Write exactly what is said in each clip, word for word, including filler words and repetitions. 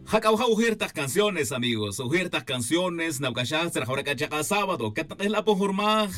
Jac'a waja' ujir tak canciones, amigos. Ujir tak canciones nawc'axaj tzra jawra c'a chak'a' sábado catnk'ejla' pon jurmaj.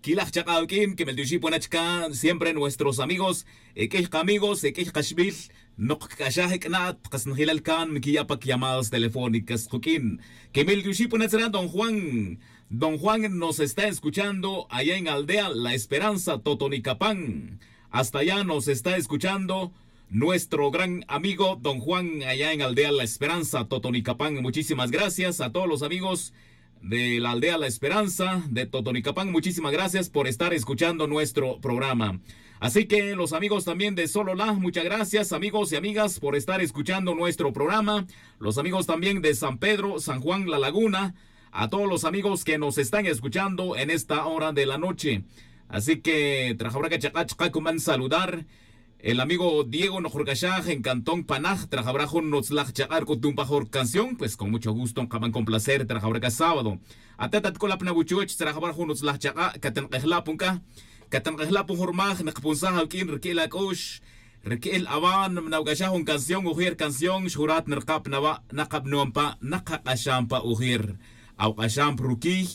Quilaj chak'a' uq'uin quemeltioxi' pon achca siempre nuestros amigos, e q'uiy kamigos e q'uiy kaxbil. Nok cc'axaj ec'na'at kas njilal can nquiya' pa llamadas telefónicas kuq'uin. Quemeltioxi' pon achca don juan. Don juan nos está escuchando allá en aldea la esperanza totonicapan. Hasta allá nos está escuchando nuestro gran amigo don juan allá en aldea la esperanza totonicapan. Muchísimas gracias a todos los amigos de la aldea la esperanza de totonicapan, muchísimas gracias por estar escuchando nuestro programa. Así que los amigos también de solola, muchas gracias amigos y amigas por estar escuchando nuestro programa. Los amigos también de san pedro, san juan, la laguna, a todos los amigos que nos están escuchando en esta hora de la noche. Así que trajawra c'a chak'a' chaka' cuman saludar el amigo diego nojruc'axaj en cantón panaj trajawra jun nutzlaj chak'a' ruc'utum pa jor canción pues con mucho gusto nkaban complacer trajawra c'a sábado. Atet atc'ula' pna wuchuch trajawra jun nutzlaj chak'a' catnk'ejla' pun c'a catnk'ejla' pun jurmaj nkapunsaj awuq'uin rique'el ac'ux. Rique'el awan nawc'axaj jun canción ujer canción xjurat nrkab nawa' nakabnuan pa nakak'axan pa ujer. Awk'axan pa ruquiy.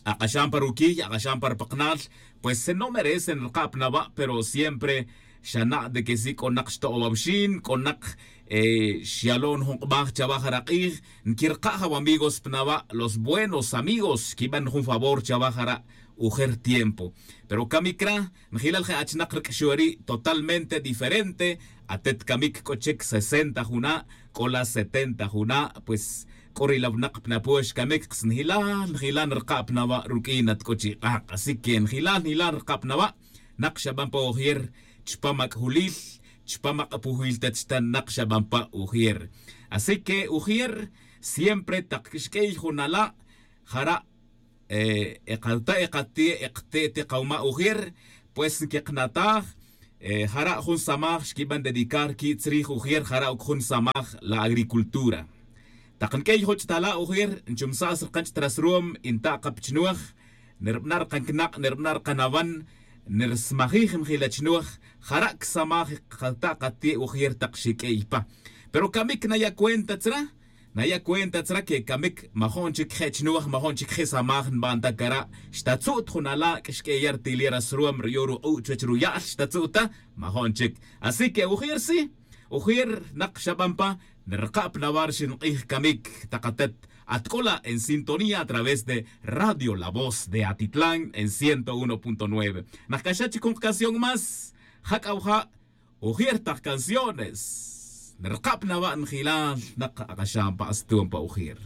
Ak'axan pa ruquiy ak'axan pa rpaknal. Pues no merece nrkab nawa' pero siempre xana' de que si c'o nak xto'owaw xin c'o nak xyalon jun k'baj chawa jara' k'ij. Nquirka' jawamigos pa nawa' los buenos amigos xquiban jun favor chawa jara' ujer tiempo. Pero camic ra njilal je achnak rc'axu'eri' totalmente diferente. Atet camic c'o chic sesenta juna' c'o la setenta juna' pues c'o ri lawnak pa napox camic kas njilal njilal nrka' pa nawa' ruq'uin at c'o chi k'ak' así que njilal njilal nrka' pa nawa'. Nak xaban pa ujer chupam ac'julil chupam ak'apujil ta chita nak xaban pa ujer. Así que ujer siempre tak xq'uiy jun ala' jara' e kalta' e kati' e kati' ti kawma' ujer. Pues nkeqnataj jara' jun samaj xquiban dedicar qui' tzrij ujer jara' oc jun samaj la agricultura. Tak nq'uiy juch' ta la' ujer nchumsa' srkan ch'tras ruwam y nta' ka pa chnuwaj. Nirbana' rkanknak' nirbana' rkanawan nirsmajij njila chnuwaj. Jara' csamaj kalta' kati' ujer tak xiq'uiy pa. Pero camic naya' cuenta tzra naya' cuenta tzra que camic majo'n chic je' chnuwaj majo'n chic je' samaj nban ta cara'. Xtatzu't jun ala' q'uixq'ueya' rtiliya' ras ruwam riyo' ruk'u' chuwech ruya'l xtatzu't ta. Majo'n chic así que ujer si ujer nak xaban pa. Nrka' pa nawa' rxin k'ij camic tak atet atc'ula' en sintonía a través de radio la voz de atitlán en ciento uno punto nueve. Nak c'axat chic jun kacanción más jac'a waja' ujer tak canciones. Nrka' pa nawa' njilal nak ak'axan pa aston pa ujer.